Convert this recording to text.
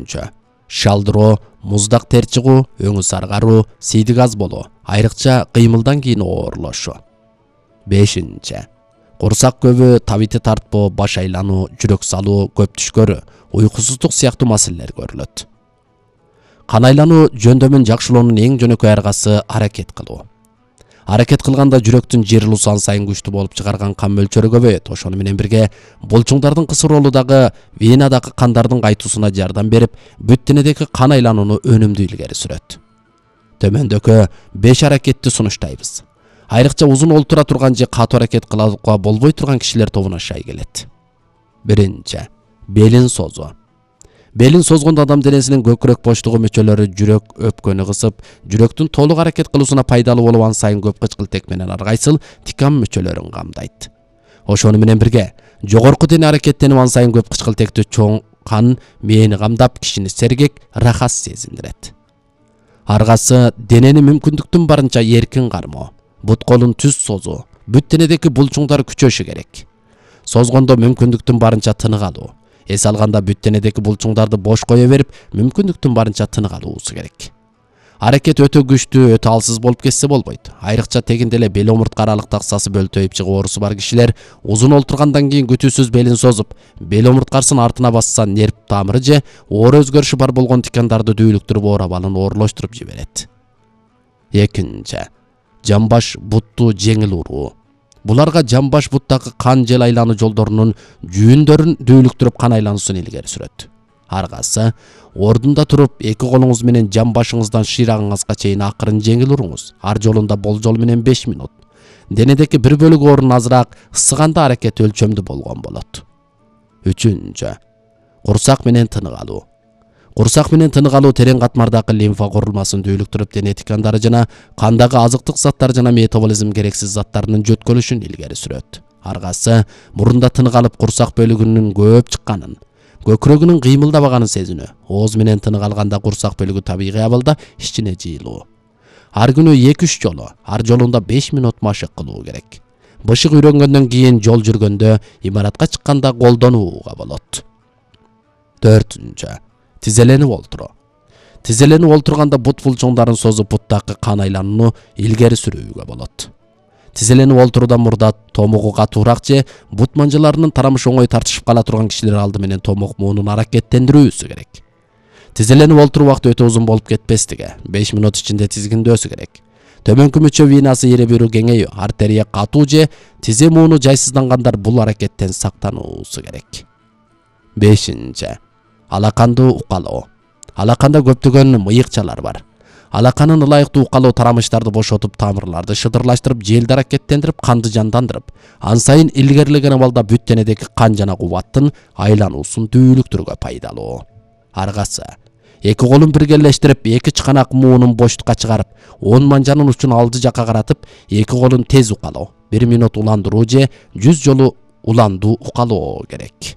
4. Шалдыроо, муздак тер чыгуу, өңү саргаруу, сийдик аз болуу, айрыкча кыймылдан кийин оорлошу. 5. Курсак көбү, табити тартпоо, баш айлануу, жүрөк салуу, көп түшкөрүү, уйкусуздук сыяктуу маселелер көрүлөт. Кан айлануу жөндөмүн жакшылоонун эң жөнөкөй аргасы аракет кылуу. Аракет кылганда жүрөктүн жыйрылуусу ан сайын күчтүү болуп чыгарган кан мөлчөрү көбөйөт. Ошону менен бирге булчуңдардын кысыр ролу дагы венадагы кандардын кайтуусуна жардам берип, бүт денедеги кан айланууну өнүмдүү илгери сүрөт. Төмөндөгү 5 аракетти сунуштайбыз. Айрыкча узун олтура турган же катуу аракет кылууга болбой турган кишилер тобуна шай келет. 1. Белин созуу. Белин созгондо адам денесинин көкүрөк боштугу мүчөлөрү жүрөк өпкөнү кысып, жүрөктүн толук аракет кылуусуна пайдалуу болуп ан сайын көп кычкылтек менен аргайсыл тикам мүчөлөрүн камдайт. Ошону менен бирге жогорку дене аракеттенип ан сайын көп кычкылтектүү чоң кан мээни камдап, кишини сергек, рахат сезиндирет. Аргасы денени мүмкүндүктүн барынча эркин кармоо, бут колун түз созуу, бүт денедеги булчуңдар күчөшү керек. Созгондо мүмкүндүктүн барынча тынык алуу. Эс алганда бүт денедеги булчуңдарды бош кое берип, мүмкүндүктүн барынча тынык алуусу керек. Аракет өтө күчтүү, өтө алсыз болуп кетсе болбойт. Айрыкча тегинде эле бел омуртка аралык таксасы бөлтөйүп чыгуу оорусу бар кишилер узун олтургандан кийин күтүүсүз белин созуп, бел омурткасын артына басса нерв тамыры же оор өзгөрүшү бар болгон тикандарды дүүлүктүрүп оор абалын оорлоштуруп жиберет. 2. Жамбаш бутту жеңил уруу. Буларга жамбаш буттагы кан жел айлануу жолдорунун жүүндөрүн дүүлүктүрүп кан айлануусун илгери сүрөт. Аргасы ордунда туруп, эки колуңуз менен жамбашыңыздан шыйрагыңызга чейин акырын жеңил уруңуз. Ар жолунда болжол менен 5 минут. Денедеги бир бөлүгү орун азыраак ысыганда аракет өлчөмдүү болгон болот. 3. Курсак менен тынык алуу. Курсак менен тынык алуу терең катмардагы лимфа курулмасын дүүлүктүрүп, дене тикандары жана кандагы азыктык заттар жана метаболизм керексиз заттарынын жөткөлүшүн илгери сүрөт. Аргасы мурунда тынык алып, курсак бөлүгүнүн көп чыкканын, көкүрөгүнүн кыймылдабаганын сезинүү. Ооз менен тынык алганда курсак бөлүгү табигый абалда ичине жыйылуу. Ар күнү 2-3 жолу, ар жолунда 5 минут машык кылуу керек. Бышык үйрөнгөндөн кийин жол жүргөндө, имаратка чыкканда колдонууга болот. 4. Тизеленип олтуруу. Тизеленип олтурганда бут булчуңдарын созуп, буттагы кан айланууну илгери сүрүүгө болот. Тизеленип олтуруудан мурда томугу катуураак же бут манжаларынын тарамышы оңой тартышып кала турган кишилер алды менен томук муунун аракеттендирүүсү керек. Тизеленип олтуруу убакыты өтө узун болуп кетпестиги, 5 минут ичинде тизгиндөөсү керек. Төмөнкү мүчө венасы эре берүү кеңейүү, артерия катуу же тизе мууну жайсыздангандар бул аракеттен сактануусу керек. 5. Алаканды укалоо. Алаканда көптөгөн мыйыкчалар бар. Алаканын ылайыктуу укалоо тарамыштарды бошотуп, тамырларды шыдырлаштырып, желди аракеттендирип, канды жандандырып, ан сайын илгерилеген абалда бүт денедеги кан жана кубаттын айлануусун дүүлүктүрүүгө пайдалуу. Аргасы эки колун биргелештирип, эки чыканак муунун боштукка чыгарып, 10 манжанын учун алды жакка каратып, эки колун тез укалоо. 1 минут уландыруу же 100 жолу уландуу укалоо керек.